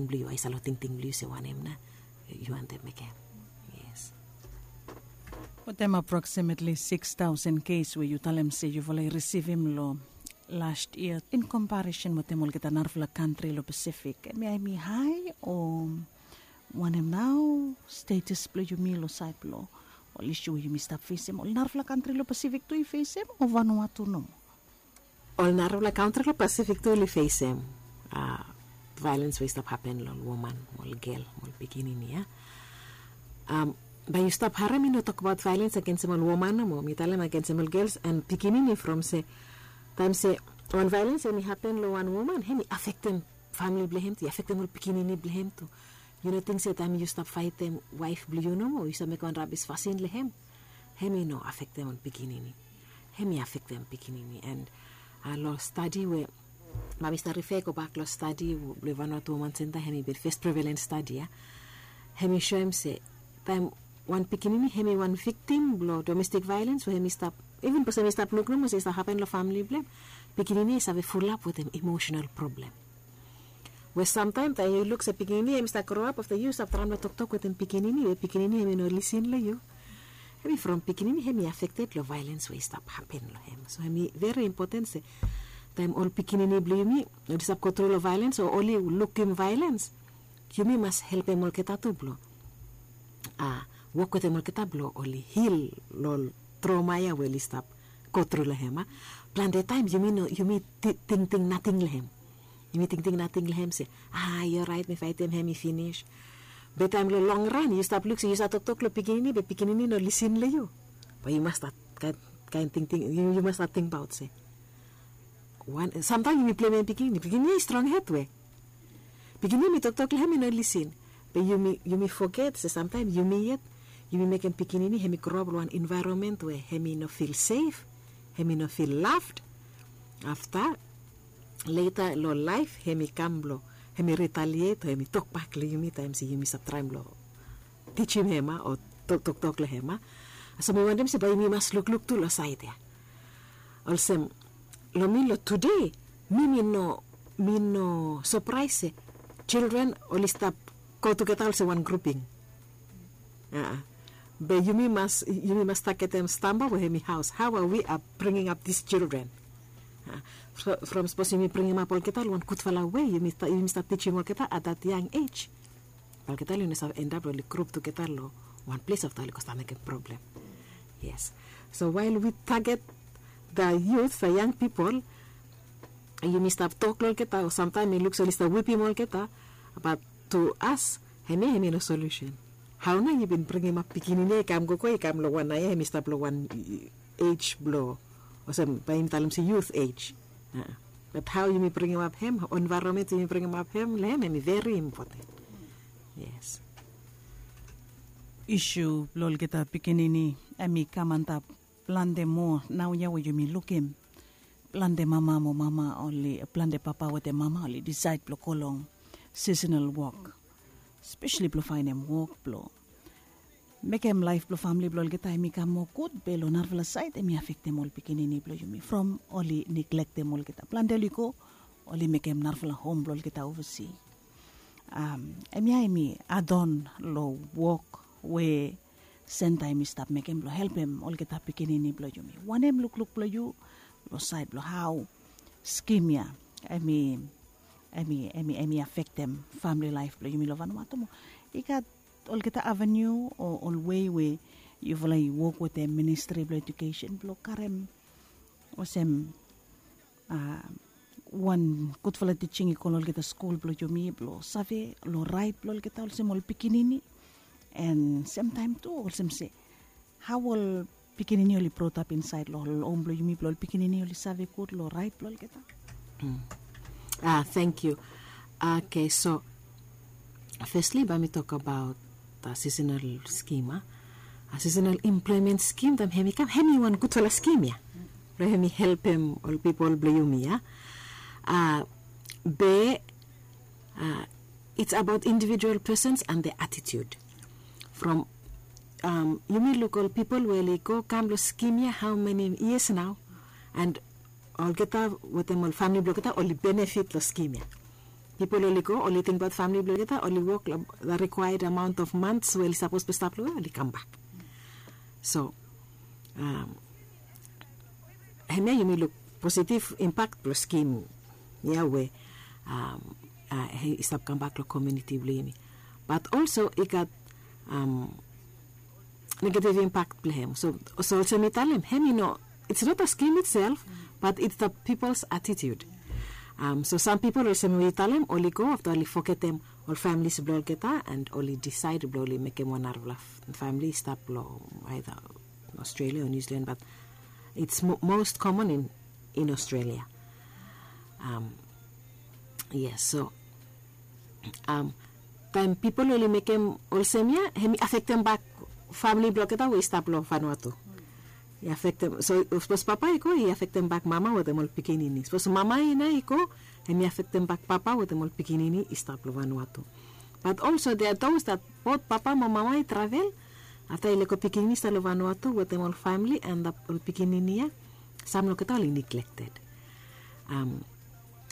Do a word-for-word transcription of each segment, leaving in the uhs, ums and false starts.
blong yu, aisait long tingting blong yu se wanem nao yu wantem mekem. Yes. Wetem approximately six thousand kes we yu talem se yufala i risivim long last year in comparison wetem olgeta narafala kantri long Pacific, em ya em i hae o wanem nao status blong yumi long sait blong ol isu we yumi stap fesem, ol narafala kantri long Pacific tu i fesem o Vanuatu nomo? Ol narafala kantri long Pacific tu oli fesem violens we i stap hapen long ol woman, ol gel, ol pikinini ya. Bae yu stap harem mi no tokbaot violens agensem ol woman nomo, mi talem agensem ol gels and pikinini from se taem se wan violens em i hapen long wan woman, hem i afektem famili blong hem tu, i afektem ol pikinini blong hem tu. Yu no ting se taem yu stap faetem waef blong yu nomo, yu stap mekem wan rabis fasin long hem, hem i no afektem ol pikinini. Hem i afektem pikinini. And long stadi we bae mi stap rife gobak long stadi blong Vanuatu Woman Center, hem i bin fes prevalens stadi ya. Hem i soem se taem wan pikinini hem i wan viktim blong domestik violens we hem i stap, iven sapos hem i stap luk nomo se i stap hapen long famili blong hem, pikinini i save fulap wetem emosenal problem. We samtaem taem yu luk se pikinini hem i stap groap afta yu stap traem long toktok wetem pikinini we pikinini hem i no lisin long yu, hem i from pikinini hem i afekted long violens we i stap hapen long hem. So hem i veri impoten se taem ol pikinini blong yumi oli stap gotru long violens o oli lukim violens, yumi mas helpem olgeta tu blong wok wetem olgeta blong oli hil long ol troma ya we oli stap gotru long hem. Plante taem yumi no, yumi tingting nating long hem. Yumi tingting nating long hem se, a i oraet mi faetem hem i finis. Be taem long long ran yu stap luk se yu stap toktok long pikinini be pikinini no lisin long yu, bae yu mas stat kaen tingting, yu mas stat tingbaot se samtaem yumi plemem pikinini, pikinini i strong hed we pikinini mi toktok long hem i no lisin. Be yumi foget se samtaem yumi yet yumi mekem pikinini hem i groap long wan envaeronmen we hem i no fil sef, hem i no fil laved. Afta leta long laef hem i kam blong hem i ritaliet o hem i tokbak long yumi taem se yumi stap traem blong tijim hem o toktok long hem. So mi wantem se bae yumi mas lukluk tu long saed ya. Olsem long mi long tude, mi mi no mi no sapraes se jildren oli stap go tugeta olsem wan gruping. Be yumi mas yumi mas tagetem stamba we hem i haos, hao a wi a bringing ap dis jildren. From sapos yumi bringim ap olgeta long wan gudfala we yumi stap tijim olgeta at dat yang ej, olgeta oli no save endap long oli grup tugeta long wan ples afta oli go stap mekem problem. Yes. So wael wi taget da yut, da yang pipol, yumi stap tok long olgeta o samtaem mi luk se oli stap wipim olgeta, bat tu as hemia hemi no solusen. Hao nao yu bin bringim ap pikinini ya i kam gogo i kam long wan nao ya hemi stap long wan ej blong, olsem bae yumi talem se yut ej. Bat hao yumi bringim ap hem, envaeronmen yumi bringim ap hem long hem hemi veri impoten. Yes. Isu blong olgeta pikinini hemi kam antap plante moa naoia we yumi lukim. Plante mama mo mama oli, plante papa wetem mama oli disaed blong go long sisenal wok, spesali blong faenem wok blong mekem laef blong famle blong olgeta hemi kam moa gud, be long narafala saed hemi afektem ol pikinini blong yumi from oli niglektem olgeta. Plante oli go oli mekem narafala hom blong olgeta ovasi. Hemia hemi adon long wok we senta hemi stap mekem blong helpem olgeta pikinini blong yumi. Wanem lukluk blong yu long saed blong hao skim ya hemi, hemi, hemi afektem famle laef blong yumi long Vanuatu mo? I gat olgeta aveniu o ol wei we yufala i wok wetem ministri blong ejukesen blong karem olsem wan gudfala tijing i go long olgeta skul blong yumi blong save long raet blong olgeta olsem ol pikinini. An semtaem tu olsem se hao ol pikinini oli brotap insaed long ol hom blong yumi blong ol pikinini oli save gud long raet blong olgeta. A, tangkiu. Oke, so fesli bae mi tokbaot seasonal skim. A, seasonal employment skim taem hemi kam hemi wan gudfala skim ya blong hemi helpem ol pipol blong yumi ya. A, be it's about individual persons and their attitude. From yumi luk ol pipol we oli go kam long skim ya hao meni yias nao, an olgeta wetem ol famle blong olgeta oli benefit long skim ya. pipol oli go, oli tingbaot famili blong olgeta, oli wok long the required amount of months we oli sapos blong stap long we oli kambak. So, hemia yumi luk positive impact blong skim ya we i stap kambak long komuniti blong yumi. Bat olso i gat negative impact blong hem. So olsem mi talem, hem i no, it's not a scheme itself, but it's the people's attitude. So sam pipol olsem mi talem, oli go afta oli fogetem ol familis blong olgeta and oli disaed blong oli mekem wan narafala famili i stap long aida Australia o New Zealand, but it's most common in Australia. Yes, so taem pipol oli mekem olsem ya, hem i afektem bak famili blong olgeta we i stap long Vanuatu. I afektem, so sapos papa i go, i afektem bak mama wetem ol pikinini. Sapos mama i no i go, hem i afektem bak papa wetem ol pikinini i stap long Vanuatu. But also there are those that both papa mo mama i travel, afta i lego pikinini i stap long Vanuatu wetem ol famili and ol pikinini ya, sam long olgeta oli neglected.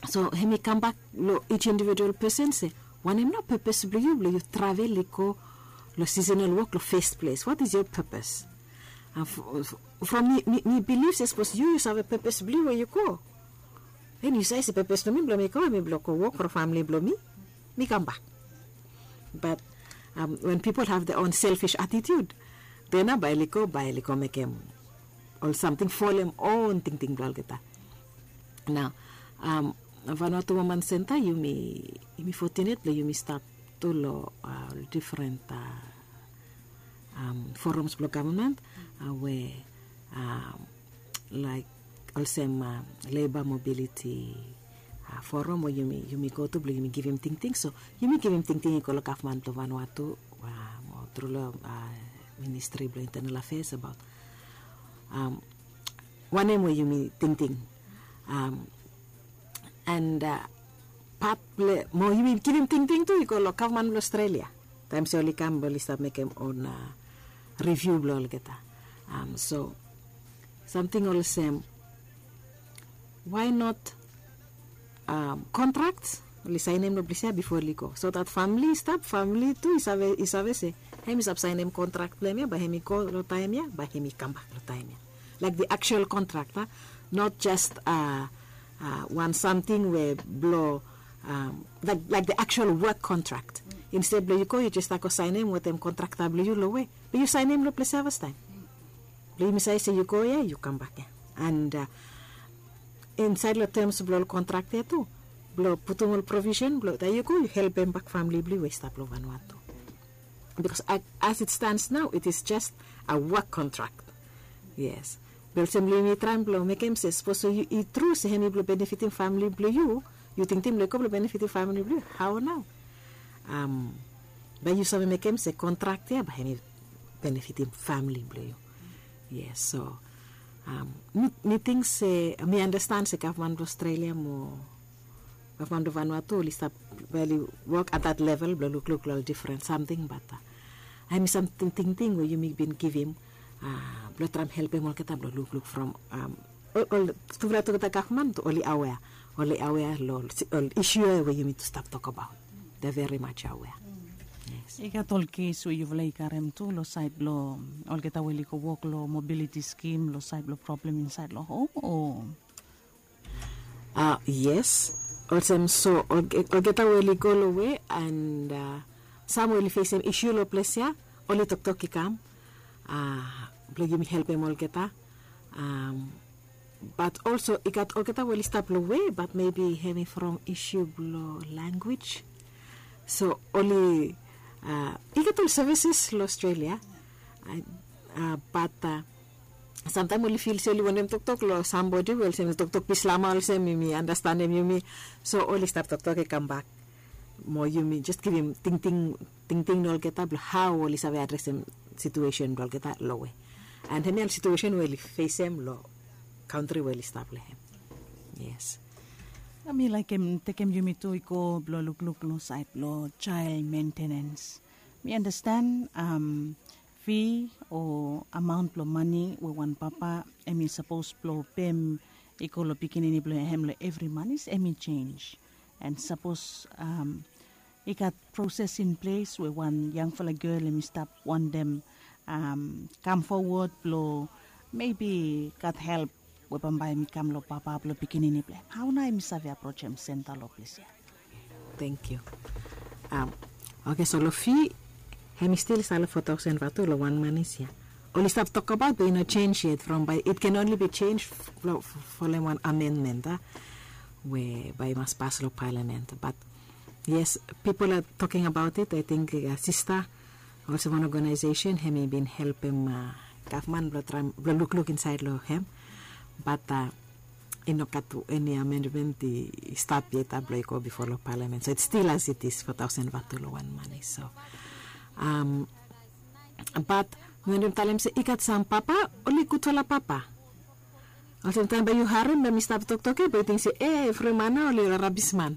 So hem i kambak long each individual person se, wanem nao purpose blong yu blong yu travel i go long seasonal work long first place? What is your purpose? From mi bilif se sapos yu yu save purpose blong yu we yu go, then yu save se purpose blong mi blong mi go hem i blong go wok from famili blong mi, mi kambak. But when people have their own selfish attitude, then nao bae oli go bae oli go mekem ol samting folem own tingting blong olgeta. Nao Vanuatu Woman Centre, yumi fortunate blong yumi stap tu long ol difren forums blong gavman we laik olsem labor mobility forum we yumi go tu blong yumi givim tingting. So yumi givim tingting i go long gavman blong Vanuatu mo tru long ministri blong internal affairs abaot wanem we yumi tingting. And pat blong mo yumi givim tingting tu i go long gavman blong Australia taem se oli kam oli stap mekem on riviu blong olgeta. So samting olsem, why not contract oli saenem long ples ya bifo oli go, so that famili i stap, famili tu i save se hem i stap saenem contract blong hem ya, bae hem i go long taem ya, bae hem i kambak long taem ya. Like the actual contract, not just wan samting we blong like the actual work contract. Insted blong yu go yu jes stap go saenem wetem kontrakta blong yu long we blong yu saenem long ples ya fastaem. Blong yumi save se yu go ya yu kambak ya. And insaed long terms blong ol kontrak ya tu, blong putum ol provisen blong taem yu go yu helpem bak famili blong yu we i stap long Vanuatu. Because as it stands now it is just a work contract. Yes. Be olsem blong yumi traem blong mekem se sapos i tru se hem i blong benefitim famili blong yu, yu tingting blong i go blong benefitim famili blong yu, hao nao? Bae yu save mekem se kontrak ya bae hem i benefitim famili blong yu. Yes, so mi ting se mi anastan se gavman blong Australia mo gavman blong Vanuatu oli stap, oli wok at that level blong lukluk long ol difren samting, bat hem i samting tingting we yumi bin givim blong traem helpem olgeta blong lukluk from ol tufala olgeta gavman tu oli awea, oli awea long ol isu ya we yumi tu stap tokbaot. They're very much aware. Yes. I gat ol kes we yufala i karem tu long saed blong olgeta we oli go wok long mobiliti skim long saed blong problem insaed long hom o? Yes, olsem so olgeta we oli go long we and sam we oli fesem isu long ples ya, oli toktok i kam blong yumi helpem olgeta. Bat olso i gat olgeta we oli stap long we bat mebi hem i from isu blong language. So oli i gat ol sevises long Australia, bat samtaem oli fil se oli wantem toktok long sambodi we olsem toktok bislama olsem yumi anastanem yumi. So oli stap toktok i kambak mo yumi jes givim tingting tingting long olgeta blong hao oli save adresem situesen blong olgeta long we. And hemia ol situesen we oli fesem long kantri we oli stap long hem. Yes. Na mi laekem tekem yumi tu i go blong lukluk long saed blong jael mentenens. Mi anastan fi o amaon blong mane we wan papa hem i sapos blong pem i go long pikinini blong hem long evri manis hem i jenis. And sapos i gat proses in ples we wan yangfala gel em i stap wantem kam fowod blong mebi gat help we bambae em i kam long papa blong pikinini blong em, hau nao em i save aprojem senta long ples ya? Thank you. Oke, so long fi hem i stil i stap long four thousand vatu long wan manis ya. Oli stap tokbaot be i no sens yet from bae it can only be sens folem wan amendment a we bae i mas pas long palamen. Bat yes, pipol a toking abaot it. Ating sista olsem wan ogenaesesen hem i bin helpem gavman blong lukluk insaed long hem. Bat i no gat eni amendment i stap yet blong i go bifo long palamen, so it stil as it is four thousand vatu long wan manis. So bat mi wantem talem se i gat sam papa oli gudfala papa. Olsem taem bae yu harem bae mi stap toktok ya bae yu ting se e evri man nao oli ol rabisman.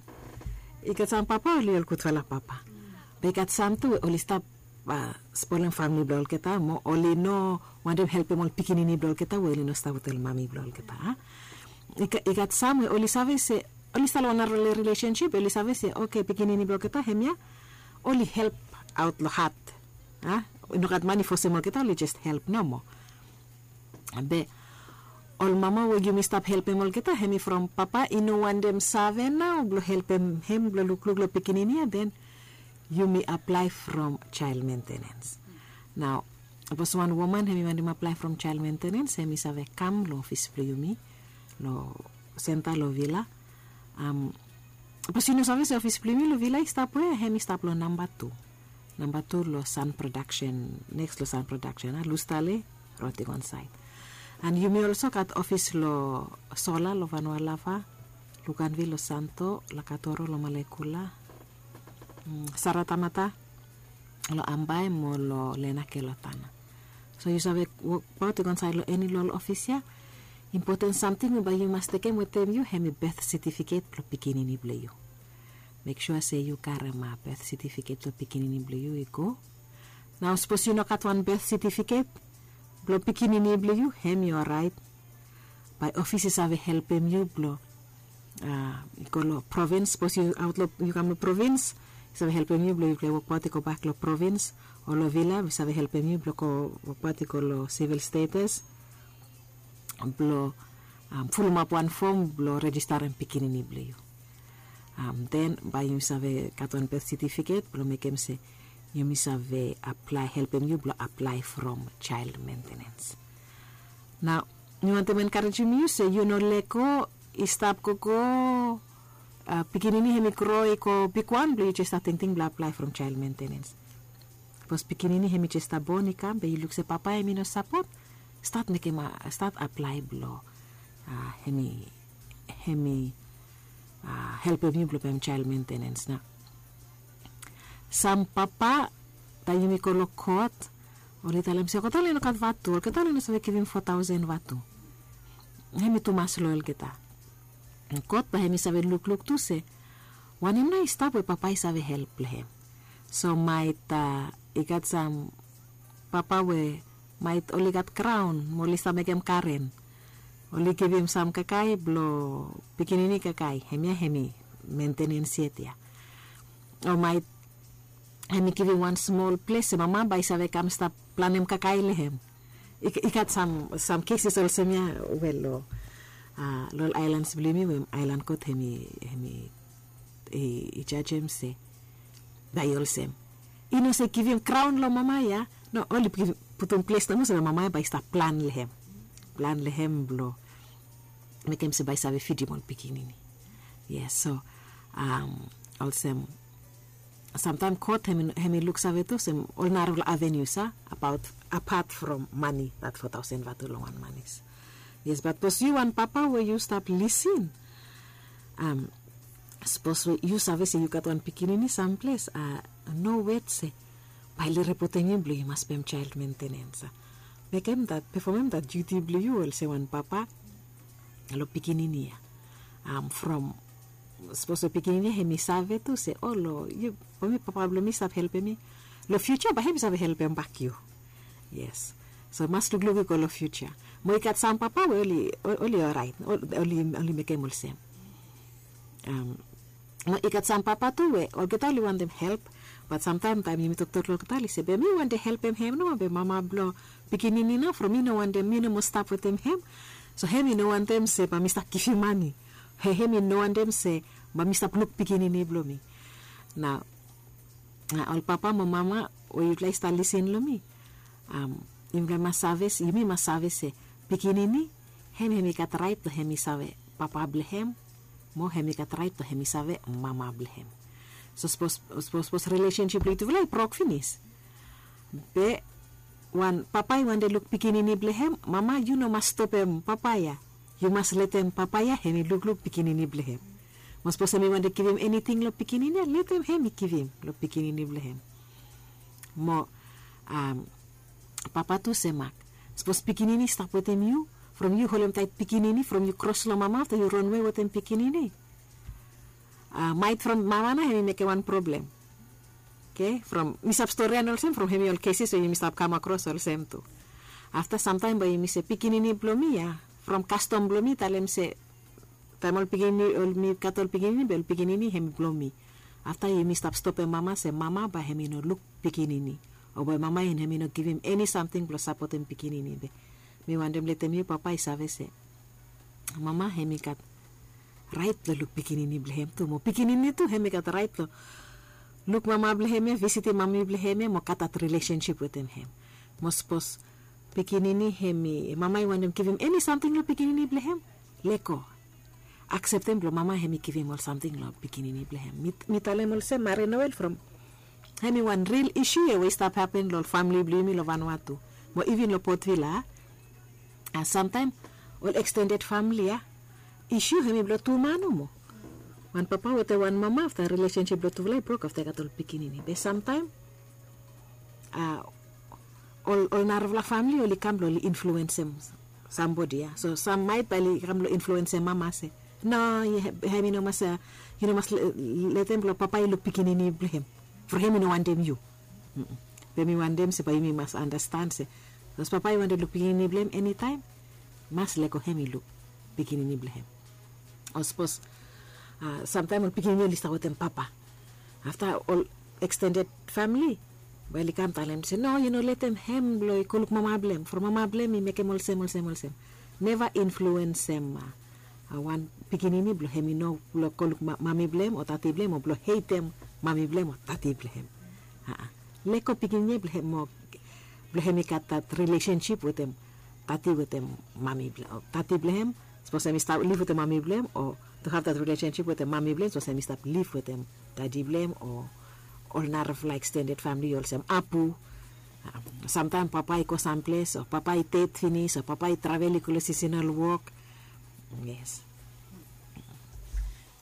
I gat sam papa oli ol gudfala papa. Be i gat sam tu we oli stap spolem famle blong olgeta mo oli no wantem helpem ol pikinini blong olgeta we oli no stap wetem mami blong olgeta. I gat sam we oli save se oli stap long wan narafala rilesensip oli save se oke pikinini blong olgeta hemia oli help aot long hat. I no gat man i fosem olgeta, oli jes help nomo. Be ol mama we yumi stap helpem olgeta hemi from papa i no wantem save nao blong helpem hem blong lukluk long pikinini ya, den yumi aplae from jael mentenens. Nao sapos wan woman hemi wantem aplae from jael mentenens hemi save kam long ofis blong yumi long senta long vila. Sapos yu no save se ofis blong yumi long vila i stap we, hemi stap long namba tu. Namba tu long san prodaksen, neks long san prodaksen a lustale, roti gonsaed. An yumi olso gat ofis long sola long vanua lava, lukanvil long santo, lakatoro long malekula, saratamata long ambae mo long lenake long tana. So yu save wokbaot i go ansaed long eni long ol ofis ya. Impoten samting we bae yu mas tekem wetem yu hemi beth setifiket blong pikinini blong yu. Mek sua se yu karem beth setifiket blong pikinini blong yu i go. Nao sapos yu no gat wan beth setifiket blong pikinini blong yu, hem i oraet. Bae ofis i save helpem yu blong i go long provins. Sapos yu aot long, yu kam long provins, i save helpem yu blong yupela i wokbaot i gobak long provins. O long vila i save helpem yu blong go wokbaot i go long sivil status blong fulumap wan fom blong rejistarem pikinini blong yu. Den bae yumi save gat wan beth setifiket blong mekem se yumi save aplae, helpem yu blong aplae from jael mentenens. Nao mi wantem enkarejem yu se yu no lego i stap gogo. Pikinini hem i gro i go bigwan blong yu jes stap tingting blong aplae from jael mentenens. Sapos pikinini hem i jes stap bon i kam be yu luk se papa hem i no sapot, stat mekem, stat aplae blong hem i, hem i helpem yu blong pem jael mentenens. Nao sam papa taem yumi go long kot, oli talem se olgeta oli no gat vatu, olgeta oli no save givim fo taosen vatu. Hem i tumas long olgeta. Kot bae hem i save lukluk tu se wanem nao i stap we papa i save help long hem. So maet i gat sam papa we maet oli gat graon mo oli stap mekem garen. Oli givim sam kakae blong pikinini kakae, hemia hem i mentenens yet ya. O maet hem i givim wan smol ples we mama bae i save kam stap planem kakae long hem. I gat sam, sam keses olsem ya we long, long ol aelans blong yumi we aelan kot hem i, hem i jajem se bae i olsem. I no se givim graon long mama ya. No, oli putum ples nomo se mama ya bae i stap plan long hem. Plan long hem blong mekem se bae i save fidim ol pikinini. Yes, so olsem samtaem kot hem i luksave tu olsem ol narafala avenues a abaot, apat from mane, dat fo taosen vatu long wan manis. Yes, bat sapos yu wan papa we yu stap lisin, sapos we yu save se yu gat wan pikinini samples, a no wet se bae oli ripotem yu blong yu mas pem jael mentenens. Mekem dat, pefomem dat diuti blong yu olsem wan papa long pikinini ya. From sapos we pikinini ya hem i save tu se o long yu, bae mi papa blong mi stap helpem mi. Long fiuja bae hem i save helpem bak yu. Yes. So mas lukluk i go long fiuja. Mo i gat sam papa we oli, oli oraet, oli, oli mekem olsem. I gat sam papa tu we olgeta oli wantem help, bat samtaem taem yumi toktok long olgeta oli se be mi wantem helpem hem nomo be mama blong pikinini nao from mi no wantem, mi no mo stap wetem hem. So hem i no wantem se bae mi stap givim mane. Hem i no wantem se bae mi stap luk pikinini blong mi. Nao ol papa mo mama we yufala i stap lisin long mi, yufala i mas save se, yumi mas save se pikinini hem hem i gat raet blong hem i save papa blong hem, mo hem i gat raet blong hem i save mama blong hem. So sapos sapos rilesensip blong yufala i brok finis, be wan papa i wantem luk pikinini blong hem, mama yu no mas stopem papa ya. Yu mas letem papa ya hem i lukluk pikinini blong hem. Mo sapos hem i wantem givim eniting long pikinini ya, letem hem i givim long pikinini blong hem. Mo papa tu semak, sapos pikinini i stap wetem yu, from yu holem taet pikinini from yu kros long mama afta yu ronwe wetem pikinini, maet from mama nao hem i mekem wan problem. Oke, from mi stap storian olsem from hem i ol keses we yumi stap kam akros olsem tu. Afta samtaem bae yumi se pikinini blong mi ya, from kastom blong mi talem se taem ol pikinini, ol mi gat ol pikinini be ol pikinini hem i blong mi. Afta yumi stap stopem mama se mama bae hem i no luk pikinini, o bae mama hem i no givim eni samting blong sapotem pikinini be mi wantem letem yu papa i save se mama hem i gat raet blong luk pikinini blong hem tu, mo pikinini tu hem i gat raet blong luk mama blong hem ya, visitim mami blong hem ya, mo gat dat rilesensip wetem hem. Mo sapos pikinini hem i, mama i wantem givim eni samting long pikinini blong hem, lego. Akseptem blong mama hem i givim ol samting long pikinini blong hem. Mi talem olsem marin oel from hem i wan ril isu ya we i stap hapen long ol famili blong yumi long Vanuatu, mo ivin long Port Vila. Samtaem ol ekstended famili ya, isu hem i blong tu man nomo. Wan papa wetem wan mama, afta rilesensip blong tufala i brok afta i gat ol pikinini be samtaem ol ol narafala famili oli kam blong oli influensem sambodi ya. So sam maet bae oli kam blong influensem mama se no, hem i no mas, yu no mas letem blong papa i luk pikinini blong hem, from hem i no wantem yu. Be mi wantem se bae yumi mas andastan se sapos papa i wantem luk pikinini blong hem enitaem, mas lego hem i luk pikinini blong hem. O sapos samtaem ol pikinini oli stap wetem papa, afta ol ekstended famili bae oli kam talem se no, yu no letem hem blong i go luk mama blong hem, from mama blong hem i mekem olsem olsem olsem. Neva influensem wan pikinini blong hem i no blong go luk mami blong hem o tati blong hem o blong heitem mami blong hem o tati blong hem. Lego pikinini ya blong hem i gat dat rilesensip wetem tati wetem mami blong hem. Sapos hem i stap liv wetem mami blong hem o tu hav dat rilesensip wetem mami blong hem, sapos hem i stap liv wetem tati blong hem o ol narafala ekstended famili olsem apu. Samtaem papa i go samples o papa i ded finis o papa i travel i go long sisenal wok. Yes.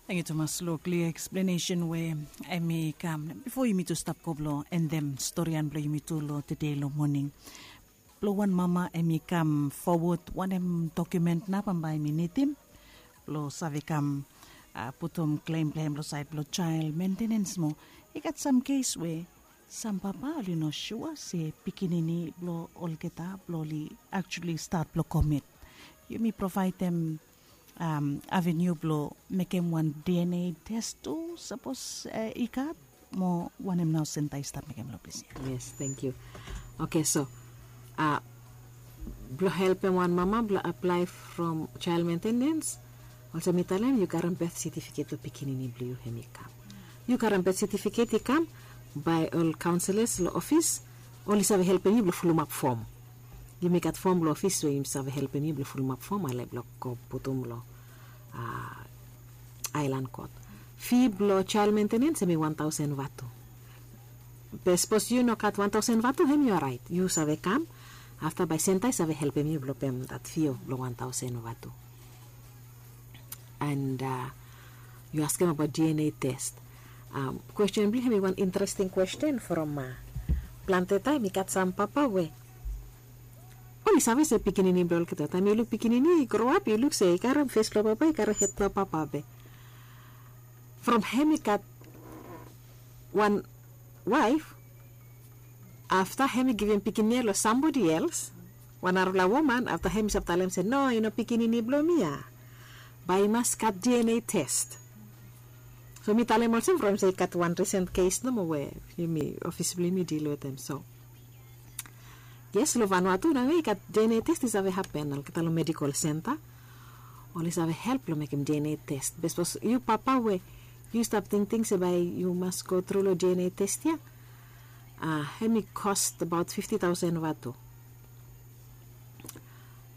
Tangkiu tumas long klia eksplenesen we hem i kam. Bifo yumi tu stap go blong endem storian blong yumi tu long tede long moning, blong wan mama hem i kam fowod wanem dokumen nao bambae hem i nidim blong save kam putum klem blong hem long saed blong jael mentenens mo i gat sam kes we sam papa oli no sua se pikinini blong olgeta blong oli aktuali stat blong komit. Yumi provaedem aveniu blong mekem wan DNA tes tu sapos i gat, mo wanem nao senta i stap mekem long ples ya? Yes, tangkiu. Oke, so blong helpem wan mama blong aplae from jael mentenens, olsem mi talem yu karem beth setifiket blong pikinini blong yu hem i kam. Yu karem beth setifiket i kam bae ol kaonselas long ofis oli save helpem yu blong fulumap fom. Yumi gat fom long ofis we yumi save helpem yu blong fulumap fom ale blong go putum long aelan kot. Fi blong jael mentenens hem i wan taosen vatu. Be sapos yu no gat wan taosen vatu hem i oraet, yu save kam. Afta bae senta i save helpem yu blong pem dat fi blong wan taosen vatu. And yu askem abaot DNA test. Kwesten blong hem i wan interesting kwesten from plante taem i gat sam papa we oli save se pikinini blong olgeta. Taem yu luk pikinini i groap yu luk se i karem fes blong papa, i karem hed blong papa be from hem i gat wan waef, afta hem i givim pikinini ya long sambodi els, wan narafala woman, afta hem i save talem se no, i no pikinini blong mi ya. Bae i mas gat DNA test. So mi talem olsem from se i gat wan risen kes nomo we yumi ofis blong yumi dil wetem. So yes, long Vanuatu nao i gat DNA test i save hapen olgeta long medical center. Oli save help long mekem DNA test be sapos yu papa we yu stap tingting se bae yu mas go tru long DNA test ya, a hem i cost about fifty thousand vatu.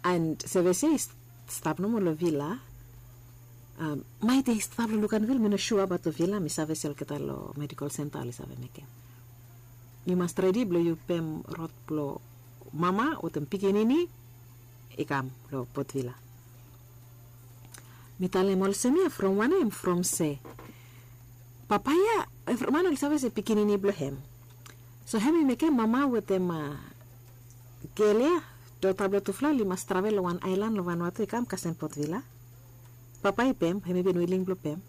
And service ya i stap nomo long villa. Maet ya i stap long Luganville, mi no sua abaot long villa. Mi save se olgeta long medical center oli save mekem. Yu mas redi blong yu pem rod blong mama wetem pikinini i kam long Port Vila. Mi talem olsem ya from wanem? From se papa ya evriwan oli save se pikinini blong hem. So hem i mekem mama wetem gel ya, dota blong tufala oli mas travel long wan aelan long Vanuatu i kam kasem Port Vila. Papa i pem, hem i bin wiling blong pem.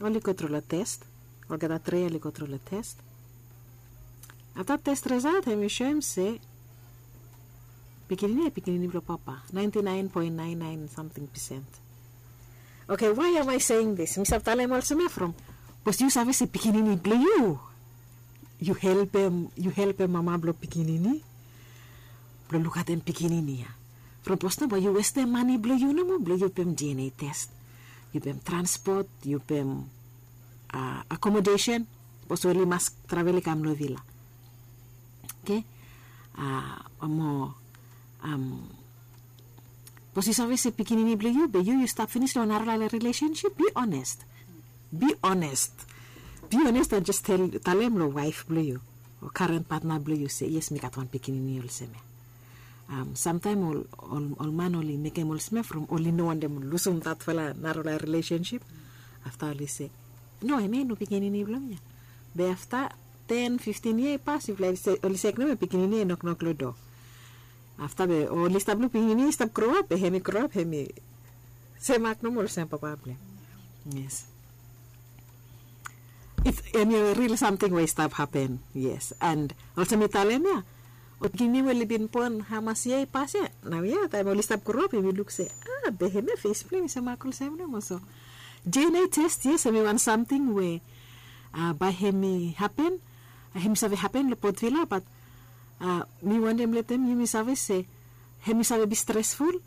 Oli go tru long test. Olgeta tri oli go tru long test. Afta test resaot hem i soem se pikinini ya pikinini blong papa, naenti naen poen naen naen samting pisent. Oke, why am I saying this? Mi save talem olsem ya from bikos yu save se pikinini blong yu, yu helpem yu helpem mama blong pikinini blong lukatem pikinini ya. From bikos no bae yu westem mane blong yu nomo blong yu pem DNA test, yu pem transpot, yu pem akomodesen. Bikos oli mas travel i kam long vila. Oke. Mo bikos yu save se pikinini blong yu be yu yu stap finis long narafala rilesensip, bi honest. Bi honest. Bi honest and jes talem long waef blong yu o karen patna blong yu se yes, mi gat wan pikinini olsem ya. Samtaem ol man oli mekem olsem ya from oli no wantem lusim datfala narafala rilesensip. Afta oli se no, hemia i no pikinini blong mi ya. Be afta ten fiftin yia i pas yufala oli se eknem ya pikinini ya i noknok long doa. Afta be oli stap luk pikinini i stap groap be hem i groap hem i semak nomo olsem papa blong hem. Yes. Hemia ril samting we i stap hapen. Yes. And olsem mi talem ya, ol pikinini we oli bin bon hamas yia i pas ya, naoia taem oli stap groap hem i luk se a be hemia fes blong hem i semak olsem nomo. So DNA test yes hem i wan samting we bae hem i hapen. Hem i save hapen long Port Vila bat mi wantem letem yumi save se hem i save bi stresful.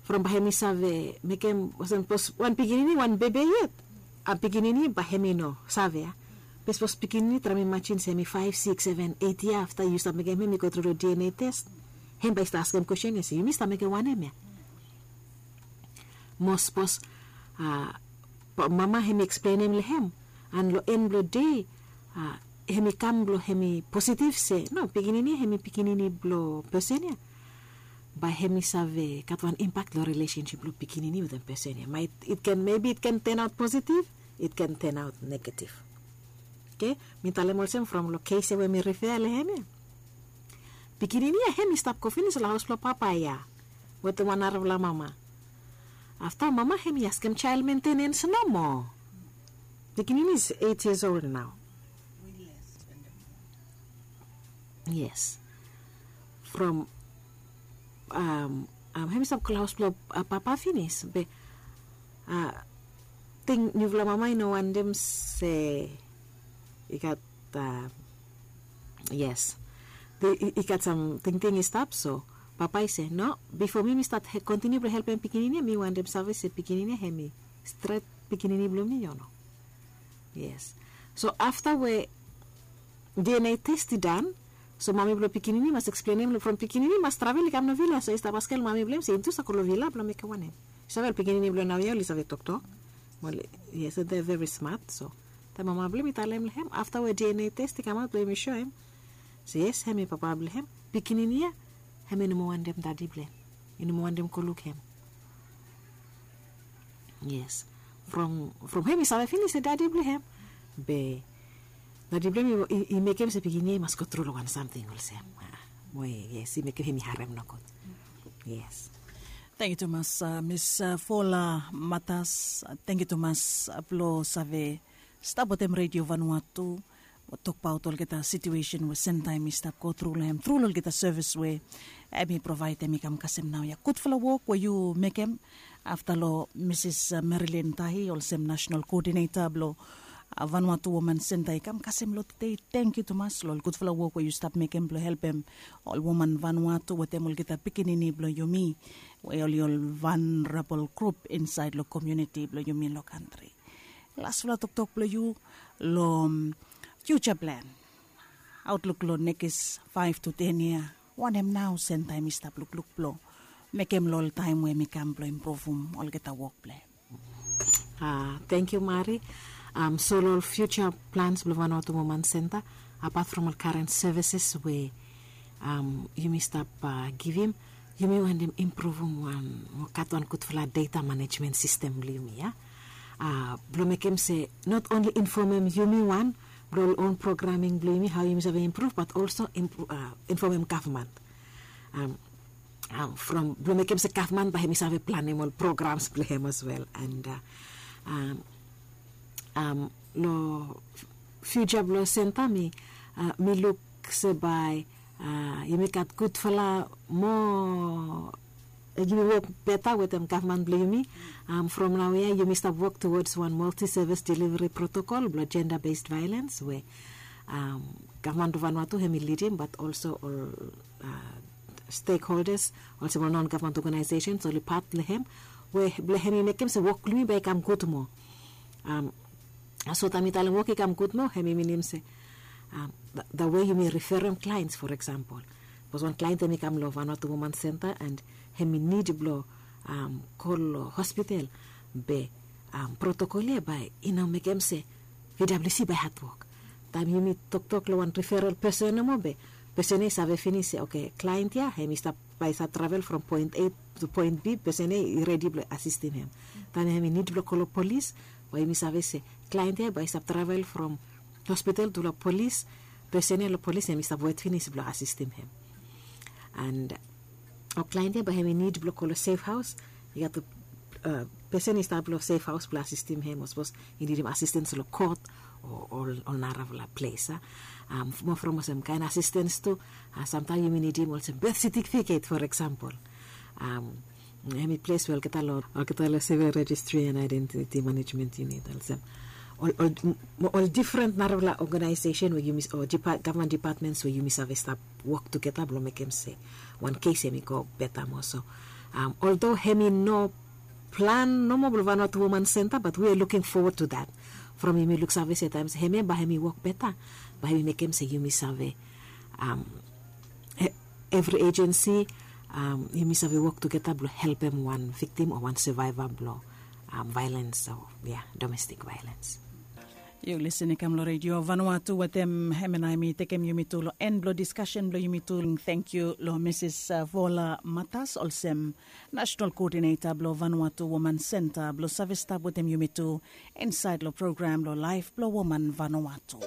From bae hem i save mekem olsem sapos wan pikinini wan bebe yet, a pikinini bae hem i no save ya. Be sapos pikinini traem imajin se hem i faef sikis seven eit yia afta yu stap mekem hem i go tru long DNA test, hem bae i stap askem kwesten ya se yumi stap mekem wanem ya. Mo sapos mama hem i eksplenem long hem, and long en blong dei hem i kam blong hem i positiv se no, pikinini ya hem i pikinini blong pesen ya, bae hem i save gat wan impak long rilesensip blong pikinini wetem pesen ya. Maet it ken mebi it ken tenaot positiv, it ken tenaot negativ. Oke. Mi talem olsem from long kes ya we mi rifea long hem ya, pikinini ya hem i stap go finis long haos blong papa ya wetem wan narafala mama. Afta mama hem i askem jael mentenens nomo. Pikinini is eit yias ol nao. Yes. From hem i stap go long haos blong papa finis be ting niufala mama i no wantem se i gat yes, i gat sam tingting i stap. So papa i se no, bifo mi mi stat kontiniu blong helpem pikinini ya mi wantem save se pikinini ya hem i stret pikinini blong mi o no. Yes. So afta we DNA test i dan, so mami blong pikinini mas eksplenem long from pikinini mas travel i kam long vila, so i stap askem long mami blong hem se yumi tu save go long vila blong mekem wanem? Yu save ol pikinini blong naoia oli save toktok. Yes, they very smart. So taem mama blong hem i talem long hem afta we DNA test i kamaot blong hem i soem se yes hem i papa blong hem, pikinini ya hem i no moa wantem dadi blong hem, i no moa wantem go luk hem. Yes. From hem i save finis se dadi blong hem, be dadi blong hem i mekem se pikinini ya i mas go tru long wan samting olsem we yes i mekem hem i harem nogud. Yes. Tangkiu tumas, Miss Fola Matas. Tangkiu tumas blong save stap wetem Radio Vanuatu mo tokbaot olgeta situesen we Sentaem i stap go tru long hem tru long olgeta sevis we hem i provaedem i kam kasem naoia. Gudfala wok we yu mekem afta long Misis Marilyn Tahi olsem National Koodineta blong Vanuatu Woman Senta i kam kasem long tede. Tangkiu tumas long ol gudfala wok we yu stap mekem blong helpem ol woman Vanuatu wetem olgeta pikinini blong yumi we oli ol vanrabol grup insaed long komuniti blong yumi long kantri. Lasfala toktok blong yu long fiuja plan, autluk long nekis faef tu ten yia. Wanem nao Senta em i stap lukluk blong mekem long ol taem we em i kam blong impruvum olgeta wok blong em? Tangkiu Mari. So long ol fiuja plans blong Vanuatu Woman Senta, apat from ol karen sevises we yumi stap givim, yumi wantem impruvum wan mo gat wan gudfala data manejmen sistem blong yumi ya, blong mekem se not onli infomem yumi wan blong ol on programing blong yumi hao yumi save impruv bat olso infomem gavman from blong mekem se gavman bae hem i save planem ol programs blong hem as wel. And long fiuja blong senta mi luk se bae yumi gat gudfala moa, yumi wok beta wetem gavman blong yumi. From naoia yumi stap wok tuwods wan multi sevis deliveri protokol blong jenda bes vaelens we gavman blong Vanuatu hem i lidim bat olso ol stekholdas olsem ol non gavman ogenaesesens oli pat blong hem, we blong hem i mekem se wok blong yumi bae i kam gud moa. So taem mi talem wok i kam gud moa hem i minim se da we yumi riferem klaens, for eksampol, sapos wan klaen hem i kam long Vanuatu Woman Senta and hem i nid blong go long hospital, be protokol ya bae i no mekem se VWC bae i hatwok. Taem yumi toktok long wan riferal pesen nomo be pesen ya i save finis se oke, klaen ya hem i stap bae i save travel from poen A tu poen B, pesen ya i redi blong asistim hem. Taem hem i nid blong go long polis, bae yumi save se klaen ya bae i save travel from hospital tu long polis, pesen ya long polis hem i stap wet finis blong asistim hem. And ol klaen ya bae hem i nid blong go long sef haos, i gat tu pesen i stap long sef haos blong asistim hem o sapos i nidim asistens long kot o ol narafala ples a. Moa from olsem kaen asistens tu, samtaem yumi nidim olsem beth setifiket, for eksampol. Hem i ples we olgeta long olgeta long sivil rejistri and aedentiti manejmen yunit olsem ol difren narafala ogenaesesen we yumi o gavman dipatmens we yumi save stap wok tugeta blong mekem se wan kes hem i go beta moa. So oldo hem i no plan nomo blong Vanuatu Woman Senta, bat wi a luking fowod tu dat. From yumi luksave se taem se hem ya bae hem i wok beta, bae hem i mekem se yumi save evri ejensi yumi save wok tugeta blong helpem wan viktim o wan savaeva blong vaelens o ya, domestik vaelens. Yu lisin i kam long redio Vanuatu wetem hem and ae mi tekem yumi tu long en blong diskasen blong yumi tu. Tangkiu long Misis Vola Matas olsem nasenal koodineta blong Vanuatu Woman Senta blong save stap wetem yumi tu insaed long program blong laef blong woman Vanuatu.